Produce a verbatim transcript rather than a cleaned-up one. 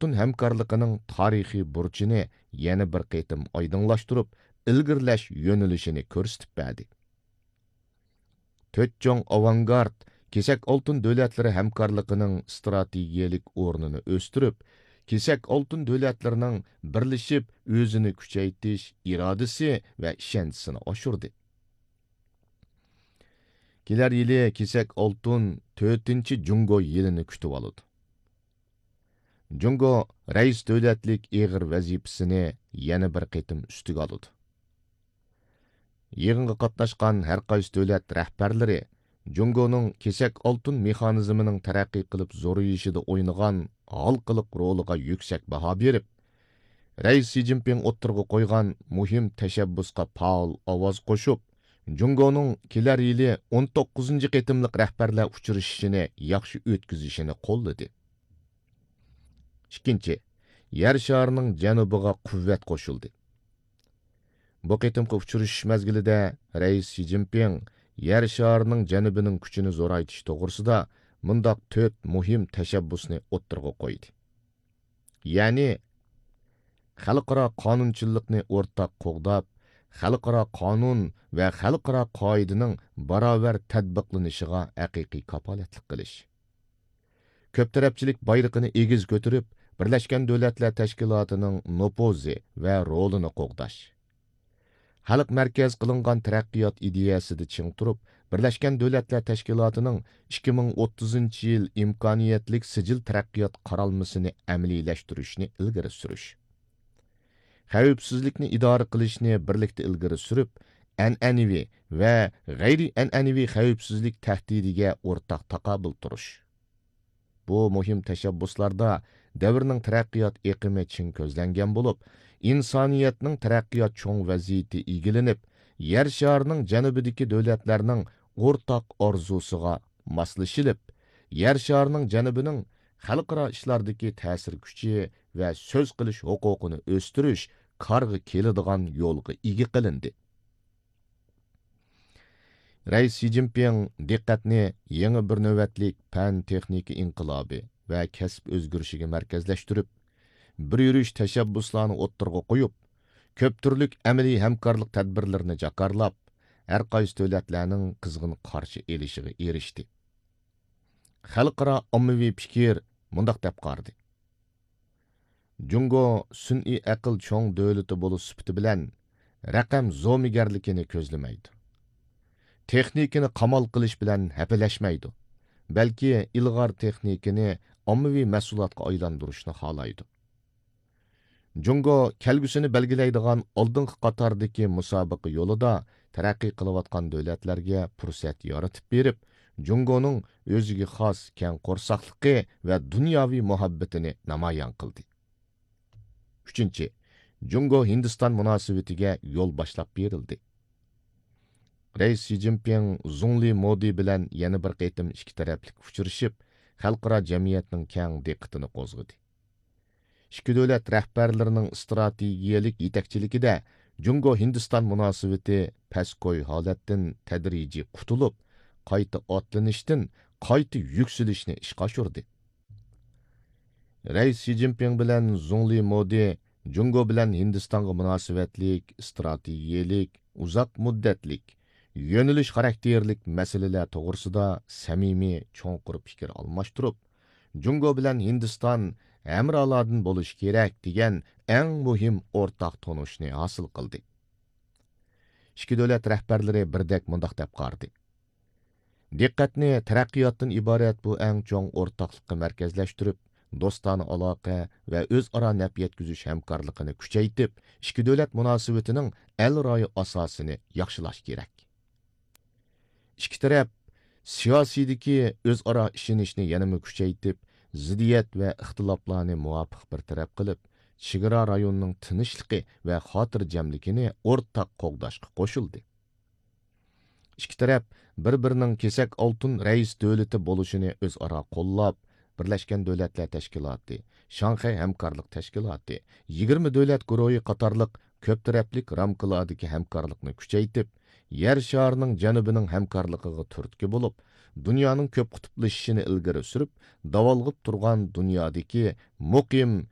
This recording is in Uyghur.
ئالتۇن ھەمكارلىقىنىڭ تارىخىي بۇرچىنى يەنە بىر قېتىم ئايدىڭلاشتۇرۇپ، ئىلگىرىلەش يۆنىلىشىنى كۆرسىتىپ بەردى. تۆت چوڭ ئاۋانگارت كېسەك ئالتۇن دۆلەتلىرى ھەمكارلىقىنىڭ ئىستراتېگىيەلىك ئورنىنى ئۆستۈرۈپ، كېسەك ئالتۇن دۆلەتلىرىنىڭ بىرلىشىپ ئۆزىنى كۈچەيتىش ئىرادىسى ۋە ئىشەنچىسىنى ئاشۇردى. كېلەر يىلى كېسەك ئالتۇن تۆتىنچى جۇڭگو يىلىنى كۈتۈۋالىدۇ. جۇڭگو رەئىس دۆلەتلىك ئېغىر ۋەزىپىسىنى يەنە بىر قېتىم ئۈستىگە ئالىدۇ. يىغىنغا قاتناشقان ھەر قايسى دۆلەت رەھبەرلىرى جۇڭگونىڭ كېسەك ئالتۇن مېخانىزمىنىڭ تەرەققىي قىلىپ زورىيىشىدا ئوينىغان ھالقىلىق رولىغا يۈكسەك باھا بېرىپ، رەئىس شى جىنپىڭ ئوتتۇرىغا قويغان مۇھىم تەشەببۇسقا پائال ئاۋاز قوشۇپ، جۇڭگونىڭ كېلەر يىلى ئون توققۇزىنچى قېتىملىق رەھبەرلەر ئۇچرىشىشىنى ياخشى ئۆتكۈزۈشىنى قوللىدى. ئىككىنچى، يەر شارىنىڭ جەنۇبىغا قۇۋۋەت قوشۇلدى. بۇ قېتىمقى ئۇچرىشىش مەزگىلىدە رەئىس شى جىنپىڭ يەر شارىنىڭ جەنۇبىنىڭ كۈچىنى زورايتىش توغرىسىدا مۇنداق تۆت مۇھىم تەشەببۇسنى ئوتتۇرىغا قويدى. يەنى، خەلقئارا قانۇنچىللىقنى ئورتاق قوغداپ، خەلقئارا قانۇن ۋە خەلقئارا قائىدىنىڭ باراۋەر تەتبىقلىنىشىغا ھەقىقىي كاپالەتلىك قىلىش. كۆپ تەرەپچىلىك بايرىقىنى ئېگىز كۆتۈرۈپ، بىرلەشكەن دۆلەتلەر تەشكىلاتىنىڭ نوپۇزى ۋە رولىنى قوغداش. خەلق مەركەز قىلىنغان تەرەققىيات ئىدىيەسىدە چىڭ تۇرۇپ، بىرلەشكەن دۆلەتلەر تەشكىلاتىنىڭ ئىككى مىڭ ئوتتۇزىنچى يىل ئىمكانىيەتلىك سىجىل تەرەققىيات قارالمىسىنى ئەمەلىيلەشتۈرۈشنى ئىلگىرى سۈرۈش. خەۋپسىزلىكنى ئىدارە قىلىشنى بىرلىكتە ئىلگىرى سۈرۈپ، ئەنئەنىۋى ۋە غەيرىي ئەنئەنىۋى خەۋپسىزلىك تەھدىتىگە ئورتاق تاقابىل تۇرۇش. بۇ مۇھىم تەشەببۇسلاردا دەۋرنىڭ تەرەققىيات ئېقىمى چىڭ كۆزلەنگەن بولۇپ، ئىنسانىيەتنىڭ تەرەققىيات چوڭ ۋەزىيىتى ئىگىلىنىپ، يەر شارىنىڭ جەنۇبىدىكى دۆلەتلەرنىڭ ئورتاق ئارزۇسىغا ماسلىشىلىپ، يەر شارىنىڭ جەنۇبىنىڭ خەلقئارا ئىشلاردىكى تەسىر كۈچى ۋە سۆز قىلىش ھوقۇقىنى ئۆستۈرۈش كارغا كېلىدىغان يولغا ئىگە قىلىندى. رەئىس شى جىنپىڭ دىققەتنى يېڭى بىر نۆۋەتلىك پەن تېخنىكا ئىنقىلابى ۋە كەسىپ ئۆزگىرىشىگە مەركەزلەشتۈرۈپ، بىر يۈرۈش تەشەببۇسلارنى ئوتتۇرىغا قويۇپ، كۆپ تۈرلۈك ئەمەلىي ھەمكارلىق تەدبىرلىرىنى جاكارلاپ، ھەر قايسى دۆلەتلەرنىڭ قىزغىن قارشى ئېلىشىغا ئېرىشتى. خەلقئارا ئاممىۋى پىكىر مۇنداق دەپ قارىدى: جۇڭگو سۈنئىي ئەقىل چوڭ دۆلىتى بولۇش سۈپىتى بىلەن رەقەم زومىگەرلىكىنى كۆزلىمەيدۇ. تېخنىكىنى قامال قىلىش بىلەن ھەپىلەشمەيدۇ، بەلكى ئىلغار تېخنىكىنى ئاممىۋى مەھسۇلاتقا ئايلاندۇرۇشنى خالايدۇ. جۇڭگو كەلگۈسىنى بەلگىلەيدىغان ئالدىنقى قاتاردىكى مۇسابىقە يولىدا تەرەققىي قىلىۋاتقان دۆلەتلەرگە پۇرسەت يارىتىپ بېرىپ، جۇڭگونىڭ ئۆزىگە خاس كەڭ قورساقلىقى ۋە دۇنياۋى مۇھەببىتىنى نامايان قىلدى. ئۈچىنچى، جۇڭگو ھىندىستان مۇناسىۋىتىگە يول باشلاپ بېرىلدى. رەئىس شى جىنپىڭ زۇڭلى مودى بىلەن يەنە بىر قېتىم ئىككى تەرەپلىك ئۇچرىشىپ، خەلقئارا جەمئىيەتنىڭ كەڭ دىققىتىنى قوزغىدى. ئىككى دۆلەت رەھبەرلىرىنىڭ ئىستراتېگىيەلىك يېتەكچىلىكىدە جۇڭگو ھىندىستان مۇناسىۋىتى پەسكوي ھالەتتىن تەدرىجىي قۇتۇلۇپ، قايتا ئاتلىنىشتىن قايتا يۈكسىلىشنى ئىشقا ئاشۇردى. رەئىس شى جىنپىڭ بىلەن زۇڭلى مودى جۇڭگو بىلەن ھىندىستانغا مۇناسىۋەتلىك ئىستراتېگىيەلىك، ئۇزاق مۇددەتلىك، يۆنىلىش خاراكتېرلىك مەسىلىلەر توغرىسىدا سەمىمىي، چوڭقۇر پىكىر ئالماشتۇرۇپ، جۇڭگو بىلەن ھىندىستان ھەمرالاردىن بولۇشى كېرەك دېگەن ئەڭ مۇھىم ئورتاق تونۇشنى ھاسىل قىلدى. ئىككى دۆلەت رەھبەرلىرى بىردەك مۇنداق دەپ قارىدى: دىققەتنى تەرەققىياتتىن ئىبارەت بۇ ئەڭ چوڭ ئورتاقلىققا مەركەزلەشتۈرۈپ، دوستانە ئالاقە ۋە ئۆزئارا نەپ يەتكۈزۈش ھەمكارلىقىنى كۈچەيتىپ، ئىككى دۆلەت مۇناسىۋىتىنىڭ ئەلرايى ئاساسىنى ياخشىلاش كېرەك. ئىككى تەرەپ سىياسىيدىكى ئۆزئارا ئىشىنىشنى يەنىمۇ كۈچەيتىپ، زىددىيەت ۋە ئىختىلاپلارنى مۇۋاپىق بىر تەرەپ قىلىپ، چېگرا رايونىنىڭ تىنچلىقى ۋە خاتىرجەملىكىنى ئورتاق قوغداشقا قوشۇلدى. ئىككى تەرەپ بىر-بىرىنىڭ كېسەك ئالتۇن رەئىس دۆلىتى بولۇشىنى ئۆزئارا قوللاپ، بىرلەشكەن دۆلەتلەر تەشكىلاتى، شاڭخەي ھەمكارلىق تەشكىلاتى، يىگىرمە دۆلەت گۇرۇھى قاتارلىق كۆپ تەرەپلىك رامكىلاردىكى ھەمكارلىقنى كۈچەيتىپ، يەر شارىنىڭ جەنۇبىنىڭ ھەمكارلىقىغا تۈرتكە بولۇپ، دۇنيانىڭ كۆپ قۇتۇپلىشىشىنى ئىلگىرى سۈرۈپ، داۋالغىپ تۇرغان دۇنيادىكى مۇقىم